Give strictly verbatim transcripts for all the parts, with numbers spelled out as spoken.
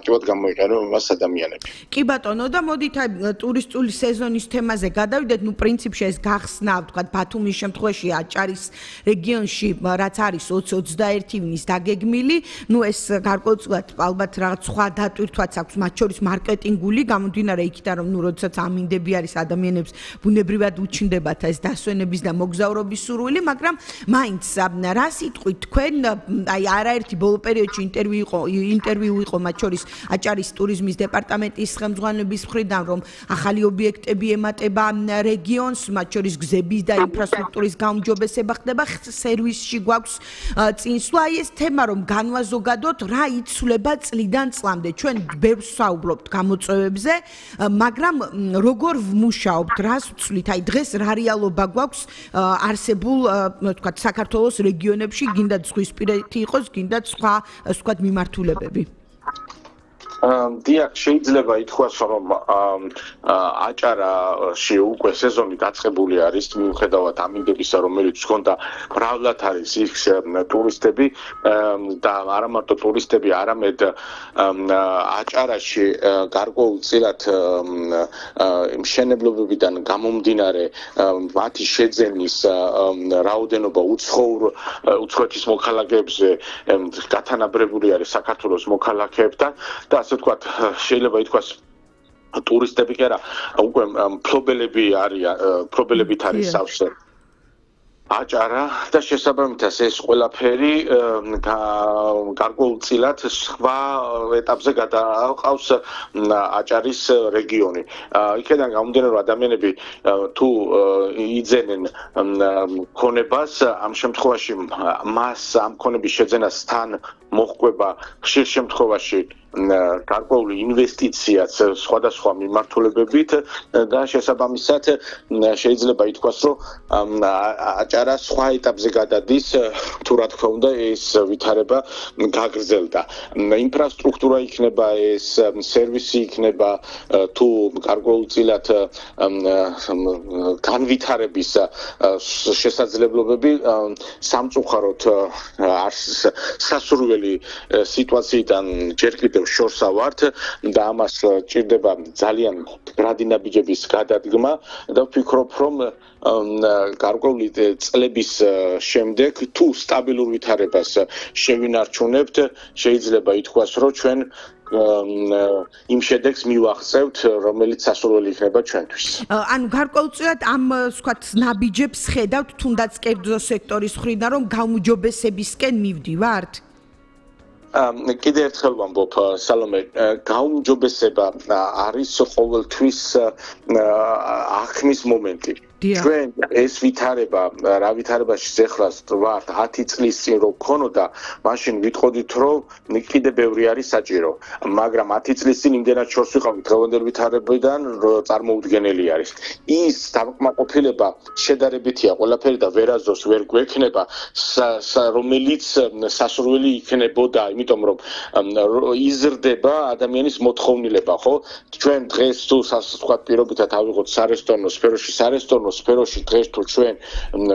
აქტიურად გამოიყენებენ მას ადამიანები. კი ბატონო და მოდით აი ტურისტული სეზონის თემაზე გადავიდეთ, ნუ პრინციპში ეს გახსნა, ვთქვათ, ბათუმის შემთხვევაში აჭარის რეგიონში რაც არის ოცი ოცდაერთი ივნის დაგეგმილი, ნუ ეს გარკვეულწილად ალბათ რაღაც სხვა დატვირთვაც აქვს, მათ შორის მარკეტინგული, გამომდინარე იქიდან რომ ნუ როდესაც ამინდები არის ადამიანებს ბუნებრივად უჩნდებათ ეს დასვენების და მოგზაურობის სურვილი, მაგრამ მაინც რა სიტყვით თქვენ აი არაერთი ბოლო პერიოდში ინტერვიუ იყო ინტერვიუ იყო მათ შორის აჭარის ტურიზმის დეპარტამენტის ხელმძღვანელობის მხრიდან რომ ახალი ობიექტები ემატება რეგიონს, მათ შორის გზების და ინფრასტრუქტურის გაუმჯობესება ხდება, სერვისში გვაქვს წინსვლა, აი ეს თემა რომ განვაზოგადოთ, რა იცვლება წლიდან წლამდე. ჩვენ ბევრს ვსაუბრობთ გამოწვევებზე, მაგრამ როგორ ვმუშაობთ, რას ვცვლით? აი დღეს რა რეალობა გვაქვს არსებულ, ვთქვათ, საქართველოს რეგიონებში, გინდათ ზღვისპირეთი იყოს, გინდათ სხვა, ვთქვათ, მიმართულებები. დიახ, შეიძლება ითქვას, რომ აჭარაში უკვე სეზონი დაწყებული არის, მიუხედავად ამინდებისა, რომელიც ჰქონდა, მრავლად არის იქ ტურისტები და არა მარტო ტურისტები, არამედ აჭარაში გარკვეულწილად მშენებლობებიდან გამომდინარე მათი შეძენის რაოდენობა უცხოურ უცხოეთის მოქალაქეებზე გათანაბრებული არის საქართველოს მოქალაქეებთან და ასე ვთქვათ, შეიძლება ითქვას ტურისტები კი არა, უკვე მფლობელები არიან, მფლობელებით არის სავსე აჭარა და შესაბამისად ეს ყველაფერი გარკვეულწილად სხვა ეტაპზე გადააყავს აჭარის რეგიონი. იქიდან გამომდინარე რომ ადამიანები თუ იძენენ ქონებას, ამ შემთხვევაში მას ამ ქონების შეძენას თან მოჰყვება ხშირ შემთხვევაში გარკვეული ინვესტიციაც სხვადასხვა მიმართულებებით და შესაბამისად შეიძლება ითქვას, რომ აჭარა სხვა ეტაპზე გადადის, თუ რა თქმა უნდა ეს ვითარება გაგრძელდა. ინფრასტრუქტურა იქნება, ეს სერვისი იქნება, თუ გარკვეულწილად განვითარების შესაძლებლობები სამწუხაროდ სასურველი სიტუაციიდან ჯერ კიდევ შორსა ვართ და ამას ჭირდება ძალიან მდგრადი ნაბიჯების გადადგმა და ვფიქრობ, რომ გარკვეული წლების შემდეგ თუ სტაბილურ ვითარებას შევინარჩუნებთ, შეიძლება ითქვას, რომ ჩვენ იმ შედეგს მივაღწევთ, რომელიც სასურველი იქნება ჩვენთვის. ანუ გარკვეულწილად ამ ვთქვათ ნაბიჯებს ხედავთ თუნდაც კერძო სექტორის მხრიდან, რომ გაუმჯობესებისკენ მივდივართ? კიდევ ერთხელ ვამბობ, სალომე, გაუმჯობესება არის ყოველთვის აღქმის მომენტი. ჩვენ ეს ვითარება, რა ვითარებაში ზეხრას ვართ ათი წლის წინ რო ქონოდა, მაშინ ვიტყოდით, რომ კიდე ბევრი არის საჭირო, მაგრამ ათი წლის წინ იმდენად შორს ვიყავით დღევანდელ ვითარებიდან, რომ წარმოუდგენელი არის. ის დამკმაყოფილება შედარებითია ყველაფერი და ვერაზოს ვერ გვექნება, რომელიც სასურველი იქნებოდა, იმიტომ რომ იზრდება ადამიანის მოთხოვნილება, ხო? ჩვენ დღეს თუ სასწრაფოდ პირობითად ავიღოთ სარესტორნო სფეროში, სარესტორნო სფეროში დღეს თუ ჩვენ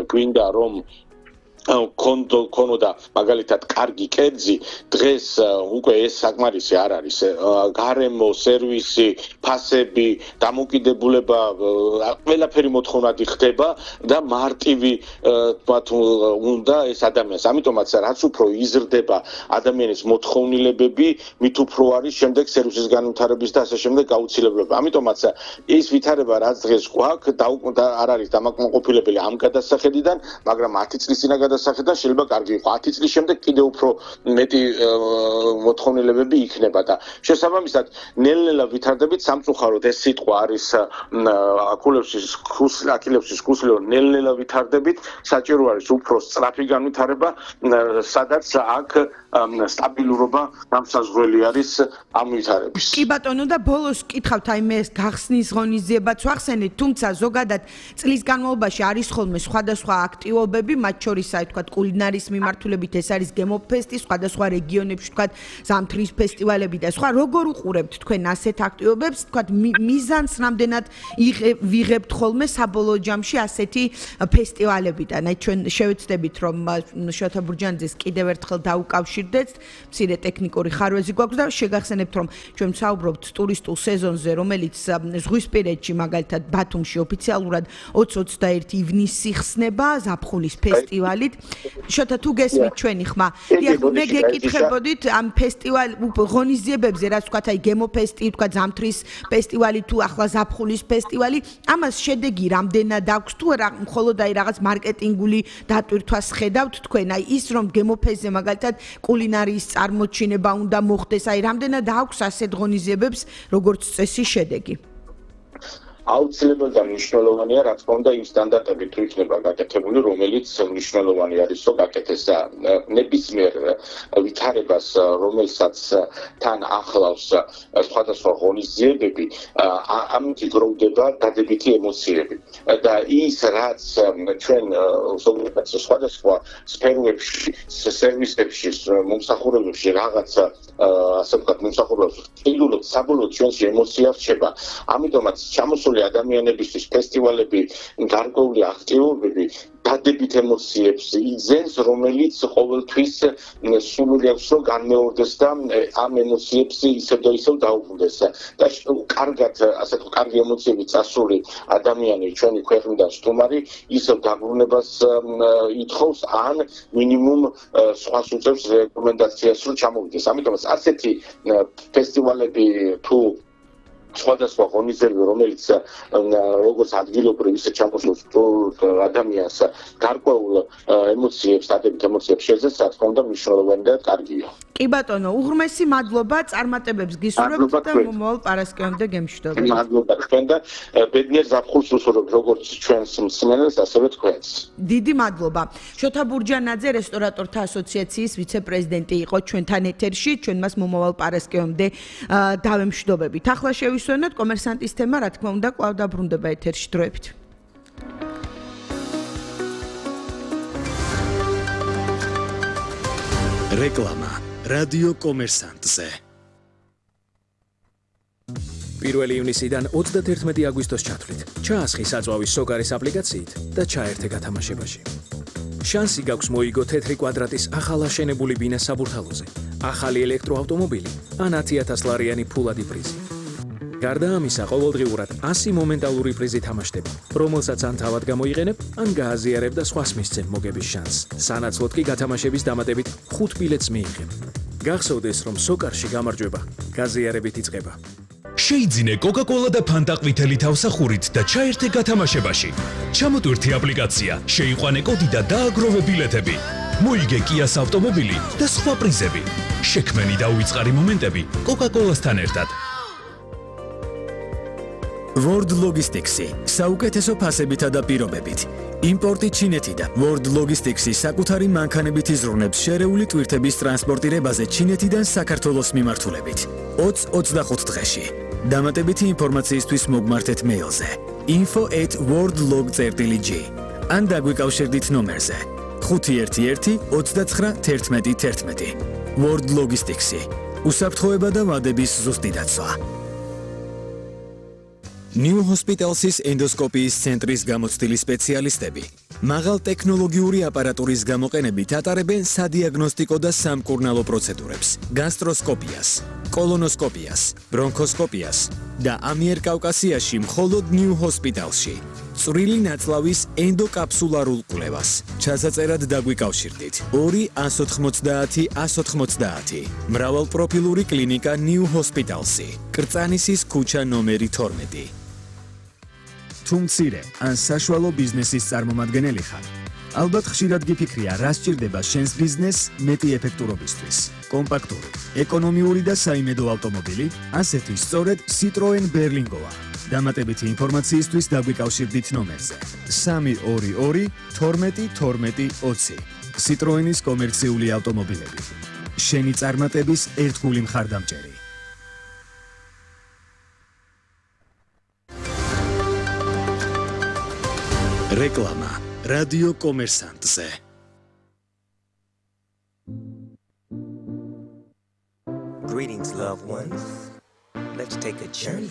გვინდა რომ კონდო კონოდა მაგალითად კარგი კერძი, დღეს უკვე ეს საკმარისი არ არის. გარემო, სერვისი, ფასები, დამოკიდებულება, ყველაფერი მოთხოვნადი ხდება და მარტივი თქვათ უნდა ეს ადამიანს. ამიტომაც რაც უფრო იზრდება ადამიანის მოთხოვნილებები, მით უფრო არის შემდეგ სერვისის განვითარების და ასე შემდეგ გაუცილებლობა. ამიტომაც ეს ვითარება რაც დღეს გვაქვს და არ არის დამაკმაყოფილებელი ამ გადასახედიდან, მაგრამ ათი წლის წინა გადასახედიდან შეიძლება კარგი იყო. ათი წლის შემდეგ კიდევ უფრო მეტი მოთხოვნილებები იქნება და შესაბამისად ნელ-ნელა ვითარდებით. სამწუხაროდ ეს სიტყვა არის აკულევსის ქუსლი, აკილევსის ქუსლი, რომ ნელ-ნელა ვითარდებით. საჭირო არის უფრო სწრაფი განვითარება, სადაც აქ სტაბილურობა გამსაზღვრელი არის ამ ვითარების. კი ბატონო და ბოლოს კითხავთ, აი მე გახსნის ღონისძიებაც ვახსენეთ, თუმცა ზოგადად წლის განმავლობაში არის ხოლმე სხვადასხვა აქტივობები, მათ შორის აი აი თქვა კულინარიის მიმართულებით ეს არის გემოფესტი, სხვადასხვა რეგიონებში თქვა ზამთრის ფესტივალები და სხვა. როგორ უყურებთ თქვენ ასეთ აქტივობებს, თქვა მიზანს რამდენად ვიღებთ ხოლმე საბოლოო ჯამში ასეთი ფესტივალებიდან? აი ჩვენ შევეცდებით რომ შოთა ბურჯანიძეს კიდევ ერთხელ დაუკავშირდეთ, მცირე ტექნიკური ხარვეზი გვაქვს და შეგახსენებთ რომ ჩვენ ვსაუბრობთ ტურისტულ სეზონზე, რომელიც ზღვისპირეთში მაგალითად ბათუმში ოფიციალურად ოცი ოცდაერთი ივნისი ხსნება ზაფხულის ფესტივალით. შოთა თუ გესმით ჩვენი ხმა, დიახ, მე გეკითხებოდით ამ ფესტივალ ღონისძიებებზე, რაც ვთქვათ, აი გემოფესტი, ვთქვათ ზამთრის ფესტივალი თუ ახლა ზაფხულის ფესტივალი, ამას შედეგი რამდენად აქვს თუ არა, მხოლოდ აი რაღაც მარკეტინგული დატვირთვას ხედავთ თქვენ, აი ის რომ გემოფესტზე მაგალითად კულინარიის წარმოჩინება უნდა მოხდეს, აი რამდენად აქვს ასეთ ღონისძიებებს როგორც წესი შედეგი? აუცილებლად და მნიშვნელოვანია, რა თქმა უნდა, იმ სტანდარტებით თუ იქნება გაკეთებული, რომელიც მნიშვნელოვანი არის, რომ გაკეთდეს ნებისმიერ ვითარებას, რომელსაც თან ახლავს სხვადასხვა ღონისძიებები, ამით იგროვდება დადებითი ემოციები. და ის, რაც ჩვენ ზოგადად სხვადასხვა სფეროებში, სერვისებში, მომსახურებებში რაღაცა ასე ვთქვათ, მომსახურებას ვყიდულობთ, საბოლოოდ ჩვენში ემოცია რჩება. ამიტომაც ჩამოსული ადამიანებისთვის ფესტივალები, გარკვეული აქტივობები დადებით ემოციებს იძენს, რომელიც ყოველთვის სურვილი აქვს, რომ განმეორდეს და ამ ემოციებს ისევ და ისევ დაუბრუნდეს. და კარგად, ასე თუ კარგი ემოციები წასული ადამიანი ჩვენი ქვეყნიდან სტუმარი ისევ დაბრუნებას ითხოვს, ან მინიმუმ სხვას უწევს რეკომენდაციას, რომ ჩამოვიდეს. ამიტომაც ასეთი ფესტივალები თუ სხვადასხვა ღონისძიებები, რომელიც როგორც ადგილობრივ, ისე ჩამოსულს ადამიანს გარკვეულ ემოციებს, დადებით ემოციებს შეძლებს, რა თქმა უნდა, მნიშვნელოვანი და კარგია. კი ბატონო, უღრმესი მადლობა, წარმატებებს გისურვებთ და მომავალ პარასკევამდე გემშვიდობებით. მადლობა თქვენ და ბედნიერ ზაფხულს უსურვებთ როგორც ჩვენს მსმენელს, ასევე თქვენს. დიდი მადლობა. შოთა ბურჯანაძე, რესტორატორთა ასოციაციის ვიცე-პრეზიდენტი იყო ჩვენთან ეთერში, ჩვენ მას მომავალ პარასკევამდე დავემშვიდობებით. ახლა შევისვენოთ კომერსანტის თემა, რა თქმა უნდა, კვლავ დაბრუნდება ეთერში დროებით. რეკლამა რადიო კომერსანტზე. პირველი ივნისიდან ოცდათერთმეტი აგვისტოს ჩათვლით. ჩაასხი საწვავის სოკარის აპლიკაციით და ჩაერთე გათამაშებაში. შანსი გაქვს მოიგო თეთრი კვადრატის ახალაშენებული ბინა საბურთალოზე, ახალი ელექტროავტომობილი ან ათი ათას ლარიანი ფულადი პრიზი. გარდა ამისა, ყოველდღიურად ასი მომენტალური პრიზი თამაშდება, რომელსაც ან თავად გამოიყენებ, ან გააზიარებ და სხვას მისცემ მოგების შანსს. სანაცვლოდ კი გათამაშების დამატებით ხუთ ბილეთს მიიღებ. გახსოვდეს, რომ სოკარში გამარჯვება გაზიარებით იწყება. შეიძინე კოკა-კოლა და ფანტა ყვითელი თავსახურით და ჩაერთე გათამაშებაში. ჩამოტვირთი აპლიკაცია, შეიყვანე კოდი და დააგროვე ბილეთები. მოიგე კიას ავტომობილი და სხვა პრიზები. შექმენი და უიწყარი მომენტები კოკა-კოლასთან ერთად. World Logistics-ი საუკეთესო ფასებითა და პირობებით. იმპორტი ჩინეთიდან. World Logistics-ი საკუთარი მანქანებით იზრუნებს შერეული ტვირთების ტრანსპორტირებაზე ჩინეთიდან საქართველოს მიმართულებით. ოცი ოცდახუთ დღეში. დამატებითი ინფორმაციისთვის მოგმართეთ მეილზე info at worldlog dot g ან დაგვიკავშირდით ნომერზე ხუთი ერთი ერთი ოცდაცხრა თერთმეტი თერთმეტი. World Logistics-ი უსაფრთხოება და ვადების ზუსტი დაცვა. New Hospitals-ის ენდოსკოპიის ცენტრის გამოცდილი სპეციალისტები მაღალ ტექნოლოგიური აპარატურის გამოყენებით ატარებენ სადიაგნოსტიკო და სამკურნალო პროცედურებს, გასტროსკოპიას, კოლონოსკოპიას, ბრონქოსკოპიას და ამიერკავკასიაში მხოლოდ New Hospitals-ში. წვრილი ნაწლავის ენდოკაფსულარულ კვლევას. ჩასაწერად დაგვიკავშირდით ორი ას ოთხმოცდაათი ას ოთხმოცდაათი. მრავალპროფილური კლინიკა New Hospitals-ი. კრწანისის ქუჩა ნომერი თორმეტი. თუ მცირე ან საშუალო ბიზნესის წარმომადგენელი ხარ, ალბათ ხშირად გიფიქრია, რა სჭირდება შენს ბიზნესს მეტი ეფექტურობისთვის. კომპაქტური, ეკონომიური და საიმედო ავტომობილი, ასეთი სწორედ Citroen Berlingoა. დამატებითი ინფორმაციისთვის დაგვიკავშირდით ნომერზე სამი ორი ორი თორმეტი თორმეტი ოცი. Citroen-ის კომერციული ავტომობილები. შენი წარმატების ერთგული მხარდამჭერი. რეკლამა რადიო კომერსანტზე. Greetings, loved ones. Let's take a journey.